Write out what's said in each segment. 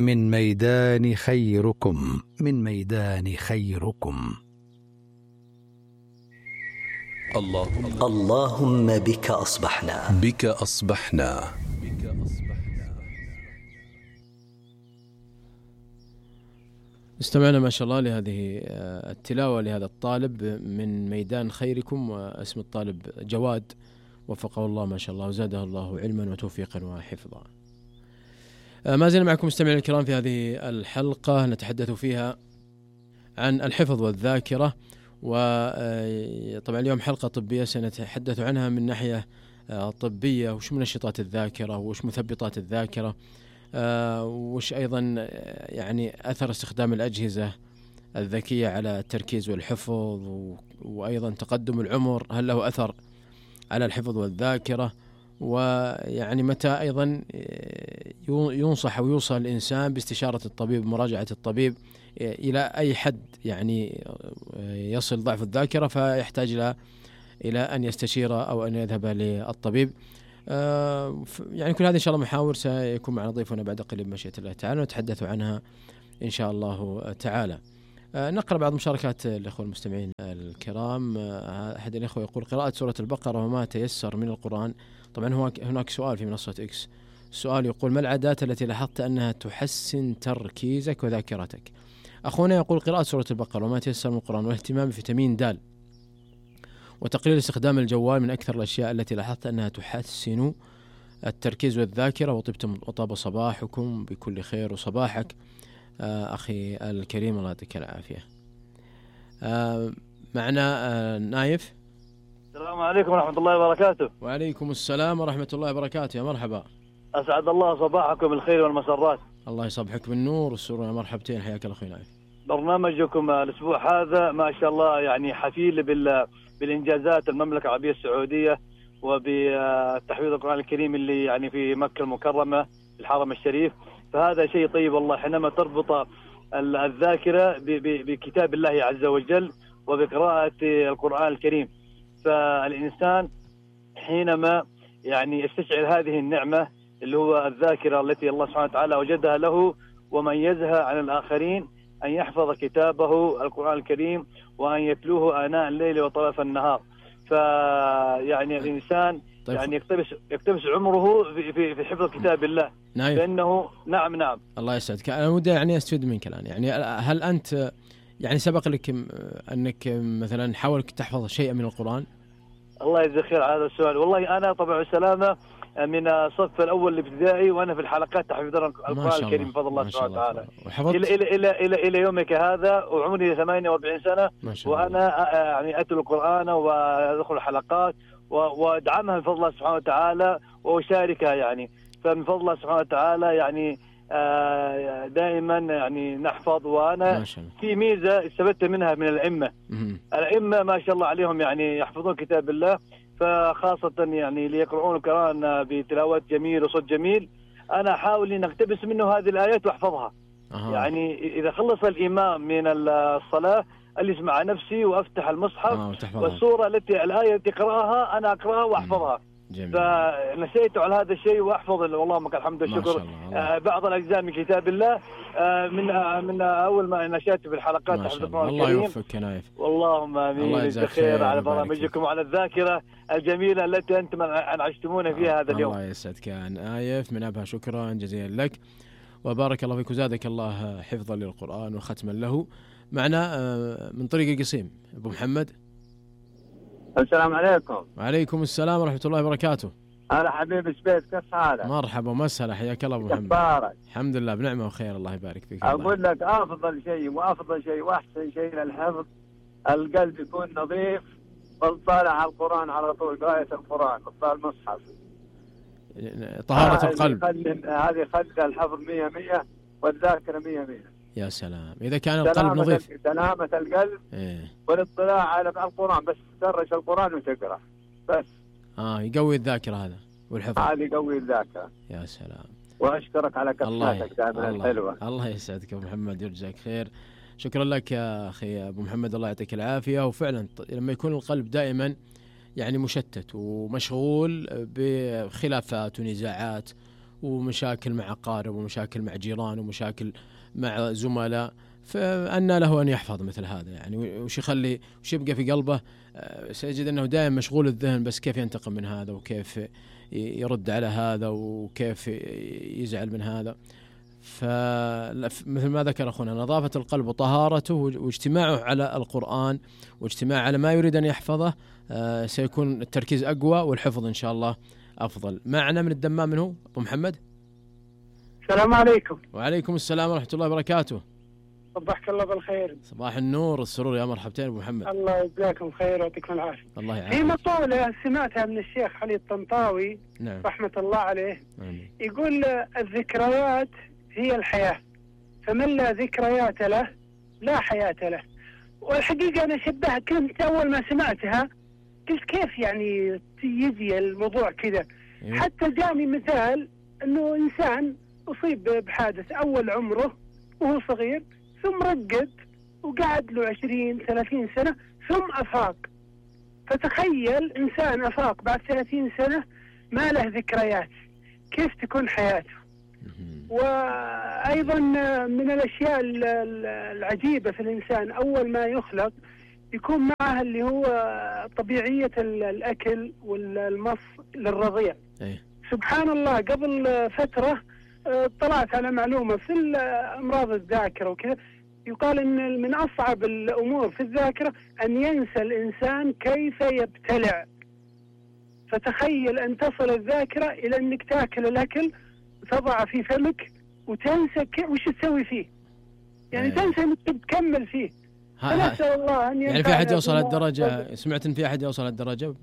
من ميدان خيركم، من ميدان خيركم. اللهم بك أصبحنا، بك أصبحنا. استمعنا ما شاء الله لهذه التلاوة لهذا الطالب من ميدان خيركم، واسم الطالب جواد، وفقه الله ما شاء الله وزاده الله علما وتوفيقا وحفظا. ما زلنا معكم مستمعين الكرام في هذه الحلقة نتحدث فيها عن الحفظ والذاكرة، وطبعا اليوم حلقة طبية سنتحدث عنها من ناحية طبية، وش منشطات الذاكرة وش مثبطات الذاكرة، وش أيضا يعني أثر استخدام الأجهزة الذكية على التركيز والحفظ، وأيضا تقدم العمر هل له أثر على الحفظ والذاكرة، ويعني متى أيضا ينصح أو يوصل الإنسان باستشارة الطبيب، مراجعة الطبيب، إلى أي حد يعني يصل ضعف الذاكرة فيحتاج إلى أن يستشير أو أن يذهب للطبيب. يعني كل هذه إن شاء الله محاور سيكون معنا ضيفنا بعد قليل بمشيئة الله تعالى ونتحدث عنها إن شاء الله تعالى. نقرأ بعض مشاركات الأخوة المستمعين الكرام. أحد الأخوة يقول: قراءة سورة البقرة وما تيسر من القرآن. طبعا هناك سؤال في منصة إكس، السؤال يقول: ما العادات التي لاحظت أنها تحسن تركيزك وذاكرتك؟ أخونا يقول: قراءة سورة البقرة وما تيسر من القرآن، والاهتمام بفيتامين د، وتقليل استخدام الجوال من أكثر الأشياء التي لاحظت أنها تحسن التركيز والذاكرة. وطاب صباحكم بكل خير، وصباحك أخي الكريم الله يعطيك العافية. معنا نايف. السلام عليكم ورحمة الله وبركاته. وعليكم السلام ورحمة الله وبركاته، يا مرحبا. أسعد الله صباحكم بالخير والمسرات. الله يصبحك بالنور والسرور، يا مرحبتين، حياك الله أخي نايف. برنامجكم الأسبوع هذا ما شاء الله يعني حفيل بالإنجازات المملكة العربية السعودية، وبتحفيظ القرآن الكريم اللي يعني في مكة المكرمة في الحرم الشريف، فهذا شيء طيب والله. حينما تربط الذاكرة بكتاب الله عز وجل وبقراءة القرآن الكريم، فالإنسان حينما يعني يستشعر هذه النعمة اللي هو الذاكرة التي الله سبحانه وتعالى وجدها له وميزها عن الآخرين، أن يحفظ كتابه القرآن الكريم وأن يتلوه آناء الليل وطرف النهار. فيعني الإنسان طيب. يعني يقتبس عمره في حفظ كتاب الله. نايف. لأنه نعم الله يسعدك. أنا ودي يعني أستفيد منك الآن، يعني هل أنت يعني سبق لك أنك مثلا حاولت تحفظ شيئا من القرآن؟ الله يجزاك خير على هذا السؤال. والله أنا طبعا السلامة من الصف الأول الابتدائي وأنا في الحلقات تحفظ القرآن الكريم بفضل الله سبحانه وتعالى إلى يومك هذا، وعمري 48 سنة وأنا يعني أتلو القرآن وأدخل الحلقات وأدعمها بفضل الله سبحانه وتعالى وأشاركها يعني. فمن فضل الله سبحانه وتعالى يعني دائما يعني نحفظ. وأنا في ميزة استفدت منها من الأئمة ما شاء الله عليهم، يعني يحفظون كتاب الله، فخاصة يعني ليقرؤون القرآن بتلاوات جميل وصوت جميل. أنا أحاول أن أقتبس منه هذه الآيات وأحفظها. يعني إذا خلص الإمام من الصلاة أجلس مع نفسي وأفتح المصحف والسورة الآية التي قرأها أنا أقرأها وأحفظها. فنسيت على هذا الشيء وأحفظ اللهم لك الحمد والشكر بعض الأجزاء من كتاب الله من أول ما نشأت في الحلقات تحفظ القرآن الكريم. الله يوفقك يا نايف. اللهم آمين. بالخير على برامجكم وعلى الذاكرة الجميلة التي أنتم أنعشتمونا فيها هذا اليوم. الله يسعدك يا نايف من أبها، شكرا جزيلا لك وبارك الله فيك وزادك الله حفظا للقرآن وختما له. معنا من طريق القصيم أبو محمد. السلام عليكم. وعليكم السلام ورحمة الله وبركاته. هلا حبيبي سبيت، كيف حالك؟ مرحبا ومسهلا، حياك الله أبو محمد. بارك. الحمد لله بنعمة وخير، الله يبارك فيك. أقول لك أفضل شيء وأحسن شيء للحفظ القلب يكون نظيف وطالع على القرآن على طول، قراءة القرآن وطالع المصحف، طهارة القلب. هذه خلي الحفظ 100 والذاكرة 100. يا سلام إذا كان القلب نظيف. سلامة القلب والاطلاع على القرآن، بس تدرس القرآن وتقرأ بس. يقوي الذاكرة هذا والحفظ. هذا يقوي الذاكرة. يا سلام. وأشكرك على كلماتك دائما الحلوة. الله يسعدك أبو محمد ويجزاك خير. شكرا لك يا أخي أبو محمد، الله يعطيك العافية. وفعلا لما يكون القلب دائما يعني مشتت ومشغول بخلافات ونزاعات ومشاكل مع أقارب ومشاكل مع جيران ومشاكل مع زملاء، فأن له أن يحفظ مثل هذا يعني، وش يبقى في قلبه؟ سيجد أنه دائما مشغول الذهن، بس كيف ينتقم من هذا، وكيف يرد على هذا، وكيف يزعل من هذا. فمثل ما ذكر أخونا، نظافة القلب وطهارته واجتماعه على القرآن واجتماع على ما يريد أن يحفظه، سيكون التركيز أقوى والحفظ إن شاء الله أفضل. معنا من الدمام منه أبو محمد. السلام عليكم. وعليكم السلام ورحمة الله وبركاته. صبحك الله بالخير. صباح النور والسرور، يا مرحبتين أبو محمد. الله يجزاكم خير ويعطيكم العافية. الله يعافيك. في مقولة سمعتها من الشيخ علي الطنطاوي، نعم، رحمة الله عليه. آمين. يقول الذكريات هي الحياة، فمن لا ذكريات له لا حياة له. والحقيقة أنا كنت أول ما سمعتها قلت كيف يعني يجي الموضوع كذا. حتى جاني مثال أنه إنسان أصيب بحادث أول عمره وهو صغير، ثم رقد وقعد له 20-30 سنة ثم أفاق. فتخيل إنسان أفاق بعد 30 سنة ما له ذكريات، كيف تكون حياته؟ وأيضا من الأشياء العجيبة في الإنسان، أول ما يخلق يكون معه اللي هو طبيعية الأكل والمص للرضيع. سبحان الله، قبل فترة طلعت على معلومة في أمراض الذاكرة وكذا، يقال إن من أصعب الأمور في الذاكرة أن ينسى الإنسان كيف يبتلع. فتخيل أن تصل الذاكرة إلى أنك تأكل الأكل تضع في فمك وتنسى وش تسوي فيه، يعني تنسى أنك تكمل فيه. فنسأل الله أن يعني في أحد يوصل هالدرجة؟ سمعت إن في أحد يوصل هالدرجة؟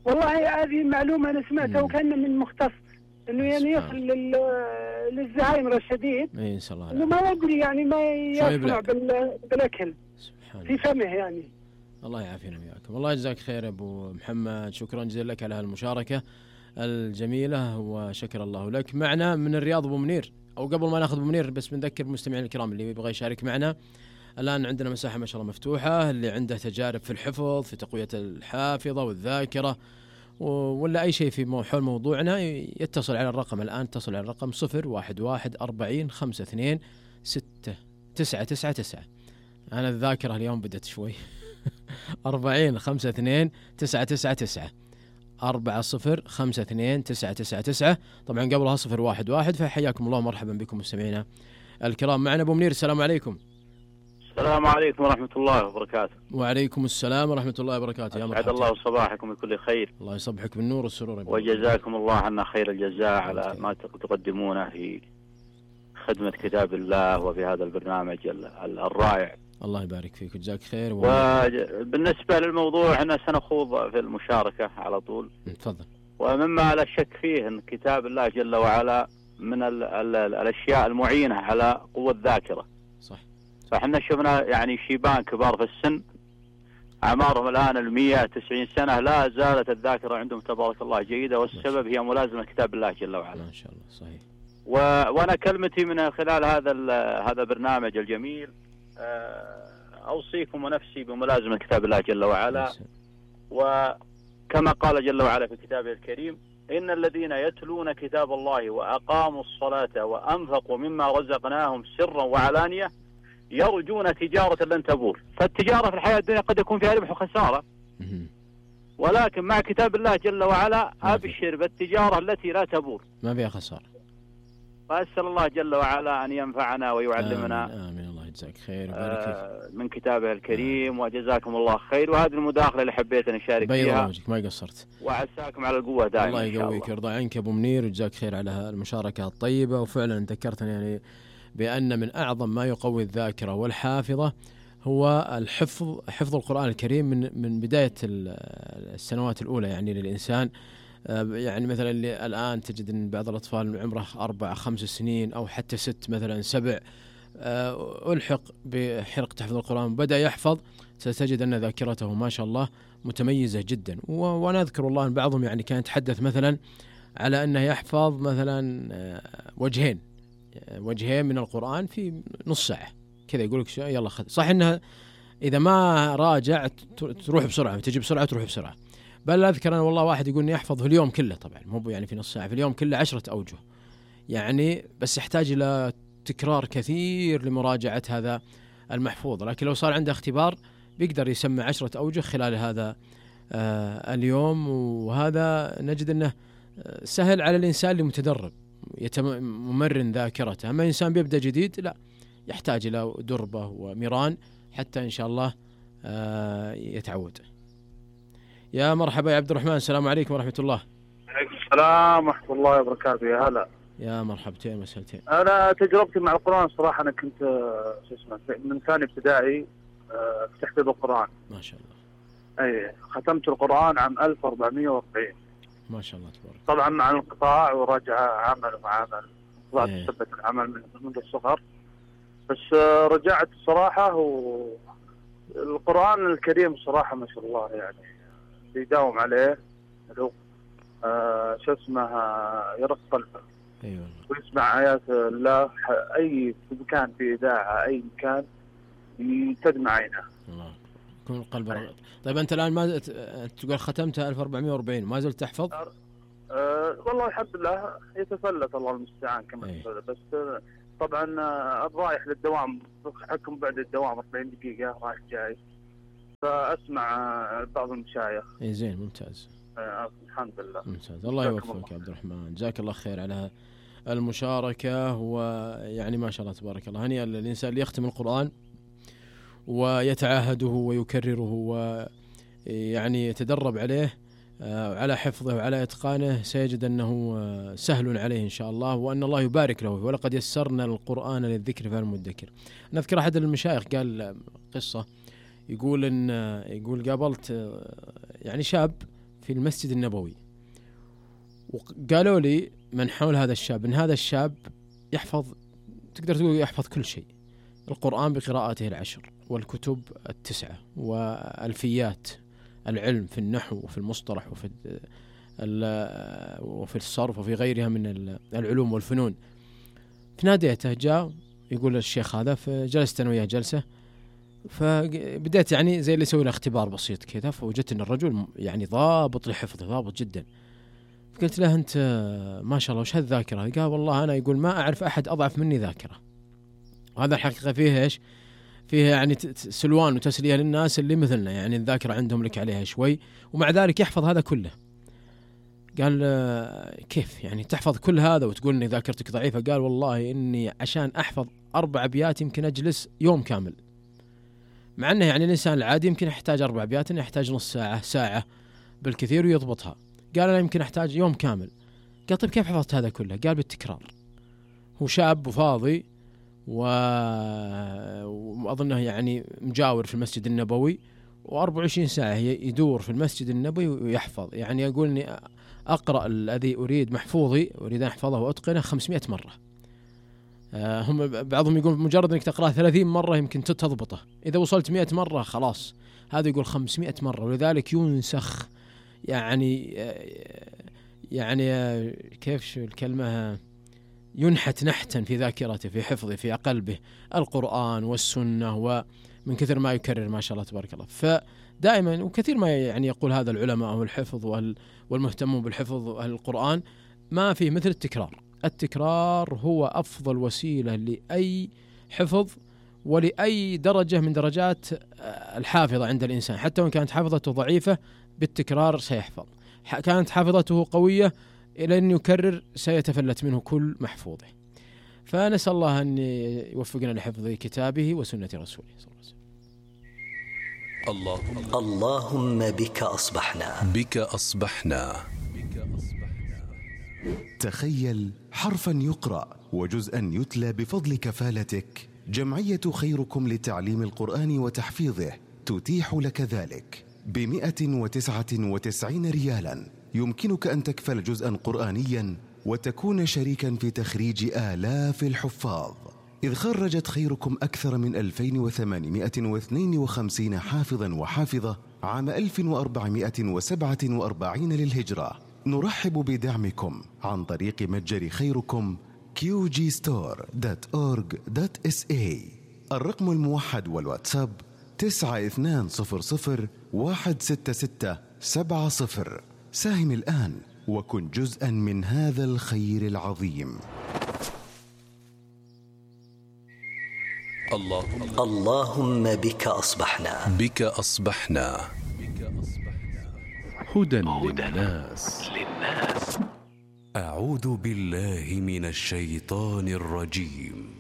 والله هذه معلومة أنا سمعتها وكان من مختص إنه يعني يصل للزهايمر الشديد، إن شاء الله إنه ما يدري يعني ما يصنع بالأكل في فمه يعني. الله يعافينا وياكم. الله يجزاك خير يا أبو محمد، شكرا جزيلا لك على هالمشاركة الجميلة وشكر الله لك. معنا من الرياض أبو منير، أو قبل ما ناخذ أبو منير بس بنذكر المستمعين الكرام اللي يبغى يشارك معنا، الآن عندنا مساحة ما شاء الله مفتوحة، اللي عنده تجارب في الحفظ، في تقوية الحافظة والذاكرة، ولا أي شيء في حول موضوعنا، يتصل على الرقم الآن، اتصل على الرقم 011-40-52-6-999. أنا الذاكرة اليوم بدت شوي 40-52-999 40-52-999. طبعا قبلها 011. فحياكم الله ومرحبا بكم مستمعينا الكرام. معنا أبو منير، السلام عليكم. السلام عليكم ورحمة الله وبركاته. وعليكم السلام ورحمة الله وبركاته. يا مرحبا. أسعد الله صباحكم بكل خير. الله يصبحك بالنور والسرور. وجزاكم الله عنا خير الجزاء على ما تقدمونه في خدمة كتاب الله وفي هذا البرنامج الرائع. الله يبارك فيك وجزاك خير. وبالنسبة للموضوع احنا سنخوض في المشاركة على طول. تفضل. ومما لا شك فيه أن كتاب الله جل وعلا من الأشياء المعينة على قوة الذاكرة. صح. فاحنا شفنا يعني شيبان كبار في السن أعمارهم الآن 190 سنة لا زالت الذاكرة عندهم تبارك الله جيدة، والسبب هي ملازمة كتاب الله جل وعلا. ما شاء الله. صحيح. وأنا كلمتي من خلال هذا البرنامج الجميل، أوصيكم ونفسي بملازمة كتاب الله جل وعلا. وكما قال جل وعلا في كتابه الكريم: إن الذين يتلون كتاب الله وأقاموا الصلاة وأنفقوا مما رزقناهم سرا وعلانية يرجون تجارة لن تبور. فالتجارة في الحياة الدنيا قد يكون فيها ربح وخسارة، ولكن مع كتاب الله جل وعلا أبشر بالتجارة التي لا تبور، ما فيها خسارة. فأسأل الله جل وعلا أن ينفعنا ويعلمنا. آمين. الله يجزاك خير وبارك من كتابه الكريم. وجزاكم الله خير. وهذه المداخلة اللي حبيت أن أشارك فيها. وجهك ما قصرت. وعساكم على القوة دائما. الله يقويك ويرضى عنك أبو منير وجزاك خير على المشاركة الطيبة. وفعلا ذكرتني يعني بأن من أعظم ما يقوي الذاكرة والحافظة هو حفظ القرآن الكريم من بداية السنوات الأولى يعني للإنسان. يعني مثلا اللي الآن تجد أن بعض الأطفال عمره 4-5 سنين أو حتى 6 مثلا 7 ألحق بحلقة حفظ القرآن بدأ يحفظ، ستجد أن ذاكرته ما شاء الله متميزة جدا. وأنا أذكر الله أن بعضهم يعني كان يتحدث مثلا على أنه يحفظ مثلا وجهين من القرآن في نص ساعة كذا، يقول لك يلا خذ. صح أنها إذا ما راجع تروح بسرعة، تجي بسرعة تروح بسرعة، بل أذكر أنا والله واحد يقول إني أحفظ في اليوم كله، طبعا مو يعني في نص ساعة، في اليوم كله 10 أوجه يعني، بس يحتاج إلى تكرار كثير لمراجعة هذا المحفوظ. لكن لو صار عنده اختبار بيقدر يسمع 10 أوجه خلال هذا اليوم. وهذا نجد أنه سهل على الإنسان اللي متدرب ممرن ذاكرته. أما إنسان بيبدأ جديد لا، يحتاج إلى دربة وميران حتى إن شاء الله يتعود. يا مرحبا يا عبد الرحمن، السلام عليكم ورحمة الله. عليكم السلام ورحمة الله وبركاته. يا هلا. يا مرحبتين مسهلتين. أنا تجربتي مع القرآن صراحة، أنا كنت من ثاني ابتدائي في تحفيظ القرآن. ما شاء الله. أي ختمت القرآن عام 1440. ما شاء الله تبارك. طبعا مع الانقطاع ورجع عمل وعمل، طلعت ثبت العمل منذ الصغر، بس رجعت الصراحة. والقرآن الكريم صراحة ما شاء الله يعني بيداوم عليه، شو اسمه، يرق قلبه. ايوه. ويسمع آيات الله أي مكان في إذاعة، أي مكان تدمع عينه. الله يكون القلب رغد. طيب أنت الآن ما تقول ختمتها 1440، ما زلت تحفظ؟ والله الحمد لله يتفلت، الله المستعان كما تقول. بس طبعا الرايح للدوام حكم بعد الدوام 40 دقيقة رايح جاي، فأسمع بعض المشايخ. اي زين ممتاز. الحمد لله ممتاز. الله يوفقك يا عبد الرحمن، جزاك الله خير على المشاركة. ويعني ما شاء الله تبارك الله، هنيئا للإنسان اللي يختم القرآن ويتعاهده ويكرره ويعني يتدرب عليه على حفظه وعلى إتقانه، سيجد أنه سهل عليه إن شاء الله، وأن الله يبارك له. ولقد يسرنا القرآن للذكر فهل مدكر. نذكر أحد المشايخ قال قصة، يقول قابلت يعني شاب في المسجد النبوي، وقالوا لي من حول هذا الشاب إن هذا الشاب يحفظ، تقدر تقول يحفظ كل شيء، القرآن بقراءاته 10 والكتب 9 والألفيات العلم في النحو وفي المصطلح وفي الصرف وفي غيرها من العلوم والفنون. فناديته جاء يقول الشيخ هذا، فجلست أنا وياه جلسة، فبدأت يعني زي اللي يسوي له اختبار بسيط كذا، فوجدت أن الرجل يعني ضابط لحفظه، ضابط جدا. فقلت له أنت ما شاء الله وش هالذاكرة؟ قال والله أنا يقول ما أعرف أحد أضعف مني ذاكرة. وهذا الحقيقة فيه إيش؟ فيه يعني سلوان وتسلية للناس اللي مثلنا، يعني الذاكرة عندهم لك عليها شوي، ومع ذلك يحفظ هذا كله. قال كيف يعني تحفظ كل هذا وتقول إني ذاكرتك ضعيفة؟ قال والله إني عشان أحفظ 4 أبيات يمكن أجلس يوم كامل، مع أنه يعني الإنسان العادي يمكن يحتاج 4 أبيات إنه يحتاج نص ساعة، ساعة بالكثير ويضبطها. قال أنا يمكن أحتاج يوم كامل. قال طيب كيف حفظت هذا كله؟ قال بالتكرار. هو شاب وفاضي وأظنه يعني مجاور في المسجد النبوي، و24 ساعة يدور في المسجد النبوي ويحفظ. يعني يقول إني أقرأ الذي أريد محفوظي، أريد أن أحفظه وأتقنه 500 مرة. هم بعضهم يقول مجرد أنك تقرأه 30 مرة يمكن تضبطه، إذا وصلت 100 مرة خلاص. هذا يقول 500 مرة، ولذلك ينسخ يعني كيف شو الكلمة، ينحت نحتا في ذاكرته، في حفظه، في قلبه القرآن والسنة، ومن كثر ما يكرر ما شاء الله تبارك الله. فدائما وكثير ما يعني يقول هذا العلماء والحفظ والمهتمون بالحفظ القرآن، ما فيه مثل التكرار. التكرار هو أفضل وسيلة لأي حفظ ولأي درجة من درجات الحافظة عند الإنسان، حتى وإن كانت حافظته ضعيفة بالتكرار سيحفظ، كانت حافظته قوية إلى أن يكرر سيتفلت منه كل محفوظه. فنسأل الله أن يوفقنا لحفظ كتابه وسنة رسوله صلى الله عليه وسلم. اللهم بك أصبحنا. بك أصبحنا. تخيل حرفا يقرأ وجزءا يتلى بفضل كفالتك. جمعية خيركم لتعليم القرآن وتحفيظه تتيح لك ذلك ب199 ريالا. يمكنك أن تكفل جزءا قرآنيا وتكون شريكا في تخريج آلاف الحفاظ، إذ خرجت خيركم أكثر من 2852 حافظا وحافظة عام 1447 للهجرة. نرحب بدعمكم عن طريق متجر خيركم qgstore.org.sa. الرقم الموحد والواتساب 9200 166 70. ساهم الآن وكن جزءا من هذا الخير العظيم. اللهم بك أصبحنا. بك أصبحنا. هدى للناس. أعوذ بالله من الشيطان الرجيم.